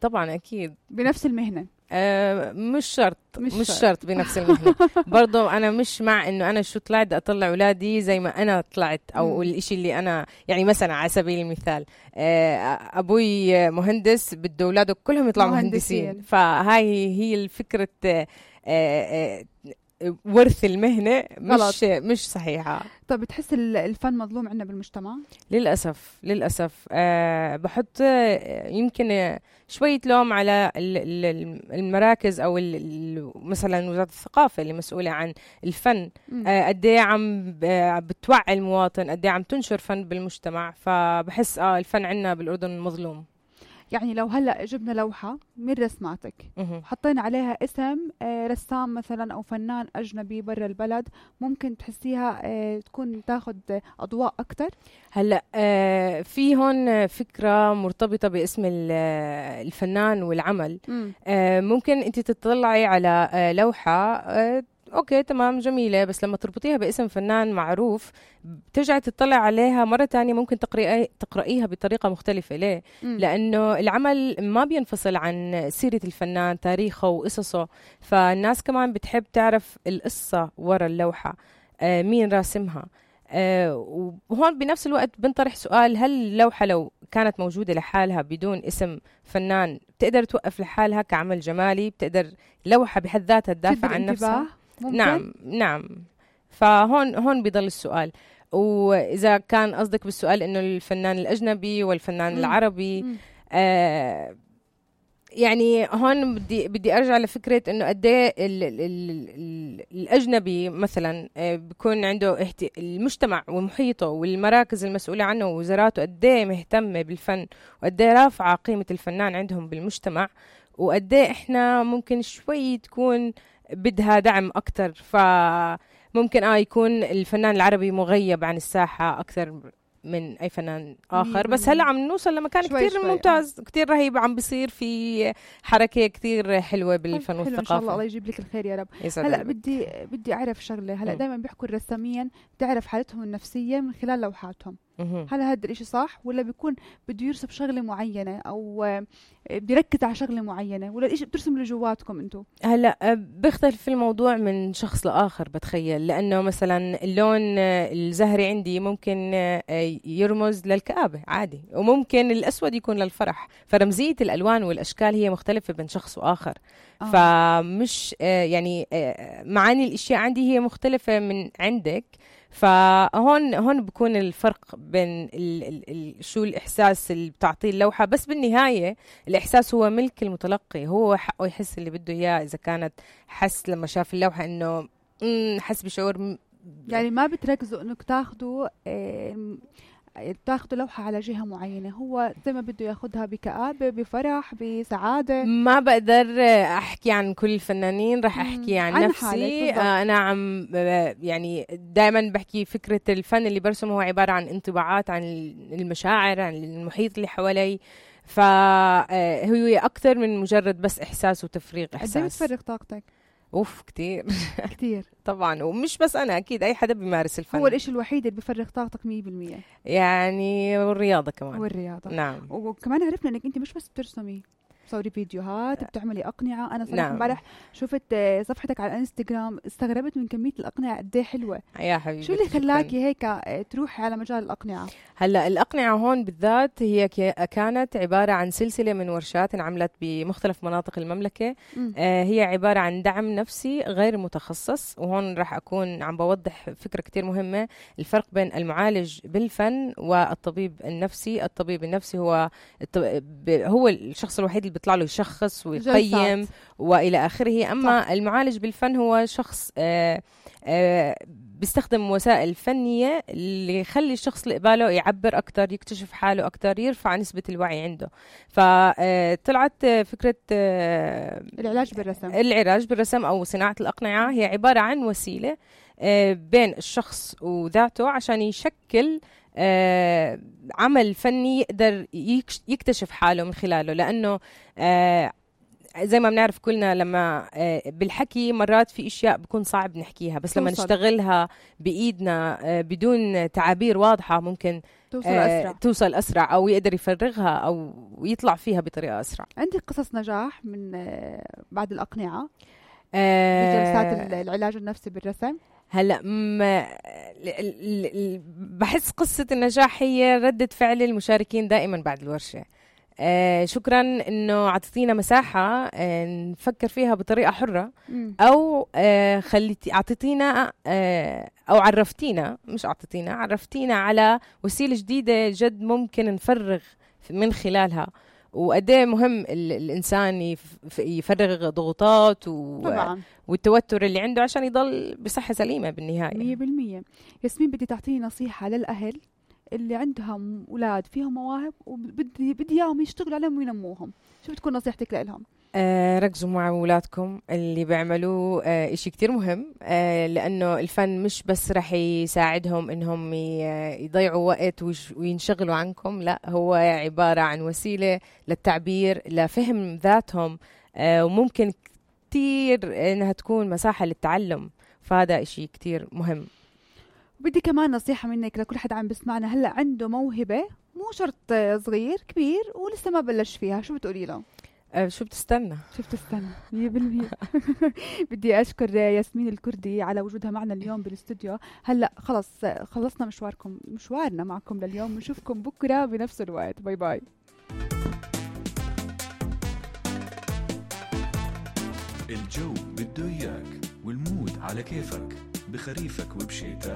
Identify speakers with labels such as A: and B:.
A: طبعا أكيد
B: بنفس المهنة.
A: مش شرط بنفس المهنة. برضو أنا مش مع إنه أنا شو طلعت أطلع أولادي زي ما أنا طلعت أو الإشي اللي أنا يعني مثلا على سبيل المثال أبوي مهندس بده أولاده كلهم يطلعوا مهندسين. فهاي هي الفكرة ورث المهنة مش صحيحة.
B: طب بتحس الفن مظلوم عندنا بالمجتمع؟
A: للأسف بحط يمكن شوية لوم على المراكز أو مثلا وزارة الثقافة اللي مسؤولة عن الفن. قديه عم بتوعي المواطن، قديه عم تنشر فن بالمجتمع. فبحس الفن عندنا بالأردن مظلوم.
B: يعني لو هلأ جبنا لوحة من رسماتك وحطينا عليها اسم رسام مثلا أو فنان أجنبي برا البلد، ممكن تحسيها تكون تاخد أضواء أكتر؟
A: هلأ في هون فكرة مرتبطة باسم الفنان والعمل. ممكن أنت تطلعي على لوحة اوكي تمام جميلة، بس لما تربطيها باسم فنان معروف بترجعي تطلع عليها مرة تانية ممكن تقرأيها بطريقة مختلفة. ليه؟ لأنه العمل ما بينفصل عن سيرة الفنان، تاريخه وقصصه. فالناس كمان بتحب تعرف القصة ورا اللوحة، مين راسمها. وهون بنفس الوقت بنطرح سؤال: هل اللوحة لو كانت موجودة لحالها بدون اسم فنان بتقدر توقف لحالها كعمل جمالي؟ بتقدر لوحة بحد ذاتها تدافع عن نفسها؟
B: ممكن؟
A: نعم. فهون بيضل السؤال. وإذا كان قصدك بالسؤال إنه الفنان الأجنبي والفنان العربي، يعني هون بدي أرجع لفكرة إنه قديه الأجنبي مثلا بيكون عنده المجتمع ومحيطه والمراكز المسؤولة عنه ووزاراته قديه مهتمة بالفن، وقديه رافعة قيمة الفنان عندهم بالمجتمع، وقديه إحنا ممكن شوي تكون بدها دعم أكتر. فممكن يكون الفنان العربي مغيب عن الساحة أكثر من أي فنان آخر. بس هلأ عم نوصل لمكان كتير ممتاز، كتير رهيب، عم بيصير في حركة كتير حلوة بالفن والثقافة.
B: إن شاء الله يجيب لك الخير يا رب. هلأ بدي أعرف شغلة. هلأ دايما بيحكوا الرسامين تعرف حالتهم النفسية من خلال لوحاتهم. هل هذا الاشي صح، ولا بيكون بده يرسم شغلة معينة أو بيركز على شغلة معينة، ولا الاشي بترسم لجواتكم انتو؟
A: هلا بيختلف الموضوع من شخص لآخر بتخيل، لأنه مثلا اللون الزهري عندي ممكن يرمز للكآبة عادي، وممكن الأسود يكون للفرح. فرمزية الألوان والأشكال هي مختلفة بين شخص وآخر. فمش يعني معاني الأشياء عندي هي مختلفة من عندك. فهون بكون الفرق بين شو الإحساس اللي بتعطيه اللوحة. بس بالنهاية الإحساس هو ملك المتلقي، هو حقه يحس اللي بده إياه. إذا كانت حس لما شاف اللوحة إنه حس بشعور،
B: يعني ما بتركزوا إنك تاخدوا لوحة على جهة معينة، هو زي ما بده ياخدها بكآبة، بفرح، بسعادة.
A: ما بقدر أحكي عن كل الفنانين، رح أحكي عن نفسي. أنا عم يعني دائما بحكي فكرة الفن اللي برسمه هو عبارة عن انطباعات عن المشاعر، عن المحيط اللي حوالي. فهو أكثر من مجرد بس إحساس وتفريغ إحساس.
B: قد ايه بتفرغ طاقتك؟
A: كتير
B: كتير
A: طبعا. ومش بس أنا، أكيد أي حدا بيمارس الفن.
B: هو الإشي الوحيد اللي بيفرغ طاقتك 100%.
A: يعني والرياضة كمان.
B: والرياضة
A: نعم.
B: وكمان عرفنا إنك أنت مش بس بترسمي، بتصوري فيديوهات، بتعملي أقنعة. أنا صراحة امبارح شفت صفحتك على الانستغرام، استغربت من كمية الأقنعة قد ايه حلوة.
A: يا حبيبي،
B: شو اللي خلاكي هيك تروحي على مجال الأقنعة؟
A: هلا الأقنعة هون بالذات هي كانت عبارة عن سلسلة من ورشات انعملت بمختلف مناطق المملكة. هي عبارة عن دعم نفسي غير متخصص. وهون راح أكون عم بوضح فكرة كتير مهمة: الفرق بين المعالج بالفن والطبيب النفسي. الطبيب النفسي هو الشخص الوحيد اللي بيطلع له يشخص ويقيم وإلى آخره. أما المعالج بالفن هو شخص بيستخدم وسائل فنية اللي يخلي الشخص اللي قباله يعبر أكتر، يكتشف حاله أكتر، يرفع نسبة الوعي عنده. فطلعت فكرة العلاج بالرسم أو صناعة الأقنعة. هي عبارة عن وسيلة بين الشخص وذاته عشان يشكل عمل فني يقدر يكتشف حاله من خلاله. لأنه زي ما بنعرف كلنا لما بالحكي مرات في اشياء بكون صعب نحكيها، بس لما نشتغلها بايدنا بدون تعابير واضحة ممكن توصل أسرع أو يقدر يفرغها أو يطلع فيها بطريقة أسرع.
B: عندك قصص نجاح من بعد الأقنعة بجلسات العلاج النفسي بالرسم؟
A: هلا بحس قصة النجاح هي ردة فعل المشاركين دائما بعد الورشة. شكرا انه عطيتينا مساحة نفكر فيها بطريقة حرة، او اعطيتينا او عرفتينا، مش اعطيتينا، عرفتينا على وسيلة جديدة جد ممكن نفرغ من خلالها، وقديه مهم الانسان يفرغ ضغوطات والتوتر اللي عنده عشان يضل بصحة سليمة بالنهاية.
B: 100%. ياسمين بدي تعطيني نصيحة للأهل اللي عندهم أولاد فيهم مواهب وبدي إياهم يشتغلوا عليهم وينموهم، شو بتكون نصيحتك لهم؟
A: ركزوا مع أولادكم، اللي بيعملوا إشي كتير مهم، لأنه الفن مش بس رح يساعدهم إنهم يضيعوا وقت وينشغلوا عنكم، لا هو عبارة عن وسيلة للتعبير، لفهم ذاتهم، وممكن كتير إنها تكون مساحة للتعلم، فهذا إشي كتير مهم.
B: بدي كمان نصيحة منك لكل حد عم بسمعنا هلأ عنده موهبة، مو شرط صغير كبير ولسه ما بلش فيها، شو بتقولي له؟
A: شو بتستنى
B: 100%. بدي أشكر ياسمين الكردي على وجودها معنا اليوم بالاستوديو. هلأ خلص خلصنا مشوارنا معكم لليوم، ونشوفكم بكرة بنفس الوقت. باي باي.
C: الجو بده إياك والمود على كيفك، بخريفك وبشيتك